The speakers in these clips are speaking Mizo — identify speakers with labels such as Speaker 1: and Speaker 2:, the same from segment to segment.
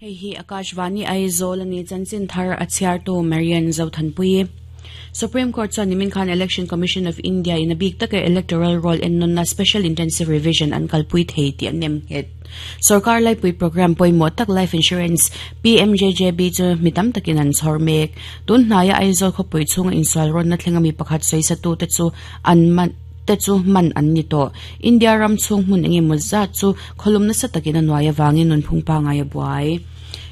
Speaker 1: Hei hi Akashvani Aizawl a ni chanchin thar a chhiartu Marian Zothanpui. Supreme Court chuan nimin khan Election Commission of India in a bik taka electoral roll ennawnna Special Intensive Revision an kalpui thei tih an nem nghet. Sorkar laipui programme pawimawh tak Life Insurance, PMJJB, chu mi tam takin an chhawr mek. Tun hnaia Aizawl khawpui chhunga insual rawnna thlenga mi pakhat sawisatute chu an man te chu man an ni tawh. India ram chhung hmun engemaw zat chu khawlum nasa takin a nuai avangin nunphung pangngai a buai.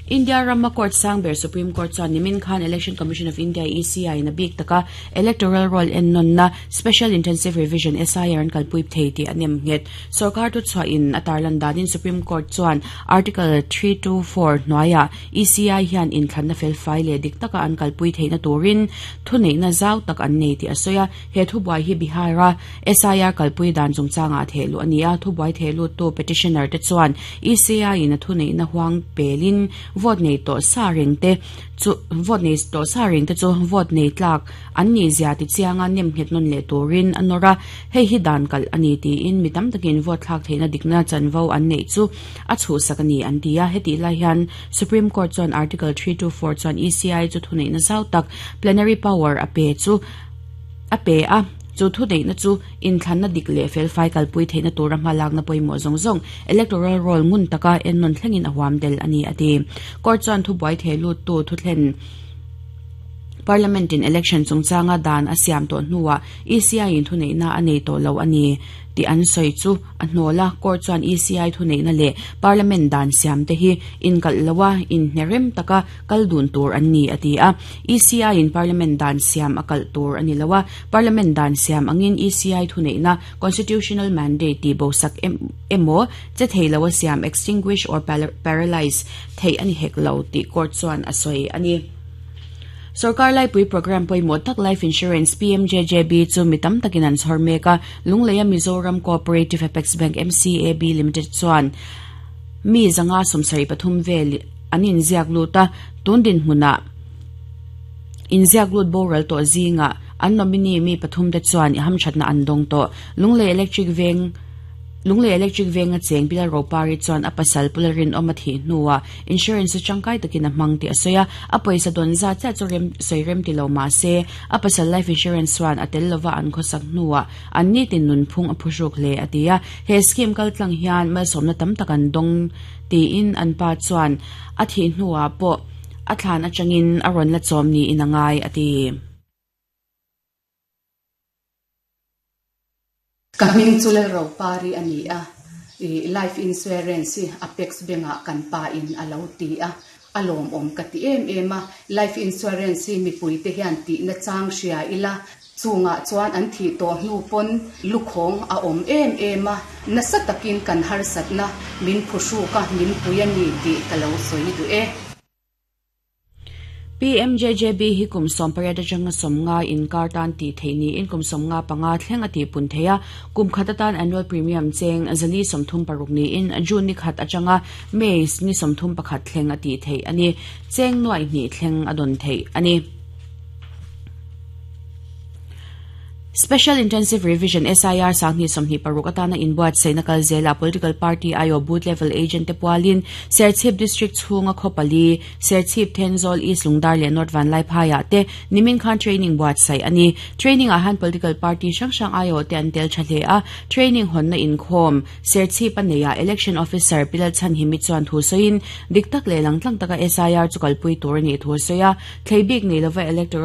Speaker 1: India rama court sang ber Supreme Court chuan nimin khan Election Commission of India, ECI, in a bik taka electoral roll ennawnna Special Intensive Revision, SIR, an kalpui thei tih a nem nghet. Sorkar thuchhuahin a tarlan danin Supreme Court chuan Article 324 hnuaiah ECI hian inthlanna felfai leh dik taka an kalpui theihna turin thuneihna zau tak an nei tih a sawi a. He thubuai hi Bihar-a SIR kalpui dan chungchangah a thehluh a ni a, thubuai thehluttu petitioner te chuan ECI-in a thuneihna huang pelin vote nei tawh sa reng te chu vote nei tawh sa reng te chu vote nei tlak an nih zia ti chianga nem nghet nawn leh turin a nawr a, hei hi dan kalh a ni tiin mi tam takin vote thlak theihna dikna chanvo an neih chu a chhuhsak a ni an ti a, hetih lai hian Supreme Court chuan Article 324 chuan ECI chu thuneihna zau tak plenary power a pe chu A pe a, chu thuneihna chu inthlanna dik leh felfai kalpui theihna tura hmalakna pawimawh zawng zawng, electoral roll ngun taka ennawn thlengin a huam del a ni, a ti. Court chuan thubuai theh luttu thuthlen Parliament-in election chungchanga dan a siam tawh hnuah ECI-in thuneihna a nei tawh lo a ni tih an sawi chu a hnawl a, court chuan ECI thuneihna leh Parliament dan siamte hi inkalh loa inhnerem taka kal dun tur an ni, a ti a. ECI-in Parliament dan siam a kalh tur a ni lo a, Parliament dan siam angin ECI thuneihna, constitutional mandate, tih bosak emaw, che thei lo a siam, extinguish or paralyse, theih a ni hek lo tih court chuan a sawi a ni. Sorkar laipui programme pawimawh tak Life Insurance, PMJJB, chu mi tam takin an chhawr mek a, Lungleia Mizoram Cooperative Apex Bank, MCAB, Limited chuan mi 573 vel an inziak lut a, tun dinhmunah inziak lut boral tawh zingah an nominee mi pathumte chuan i hamthatna an dawng tawh. Lunglei Electric Veng Lunglei Electric Venga cheng Bilal Ropari chuan a pasal Pula Rinawm a thih hnuah insurance chu tangkai takin a hmang tih a sawi a, a pawisa dawn zat chiah chu rem sawi rem ti lo mah se a pasal life insurance chuan a tel lova an khawsak hnuah an nitin nunphung a phuhruk hle a ti a, he scheme kaltlang hian malsawmna tam tak an dawng Tiin an pa chuan a thih hnuah pawh a thlan atangin a rawn la chawm niin a ngai, a ti.
Speaker 2: Ka hming chu Lalropari a ni a, i life insurance hi Apex Bank ah kan pa in a lo ti a, a lawmawm ka ti em em a, life insurance hi mipui te hian tihna chang hria ila, Chungah chuan an thih tawh hnu pawn lukhawng a awm em em a, nasa takin kan harsatna min phuhruk a, min pui a ni tih ka lo sawi duh e.
Speaker 1: PMJJB hi kum 18 atanga 50 inkar tan tih theih niin kum 55 thleng a tihpun thei a, kum khat atan annual premium cheng 436 niin June ni khat atanga May ni 31 thleng a tih theih a ni. Cheng nuaih hnih thleng a dawn theih a ni. Special Intensive Revision, SIR, 2026 atana inbuatsaihna kal zelah Political Party aiawh Booth Level Agent te pualin Serchhip District chhunga khaw pali, Serchhip, Thenzawl, East Lungdar leh North Vanlaiphaiah te nimin khan training buatsaih a ni. Training ah hian Political Party hrang hrang aiawh te an tel tha hle a, training hawnna inkhawm Serchhip a neihah Election Officer Pi Lalchhanhimi chuan thu sawiin dik tak leh langtlang taka SIR chu kalpui tur a nih thu a sawi a, thlei bik nei lova Electoral.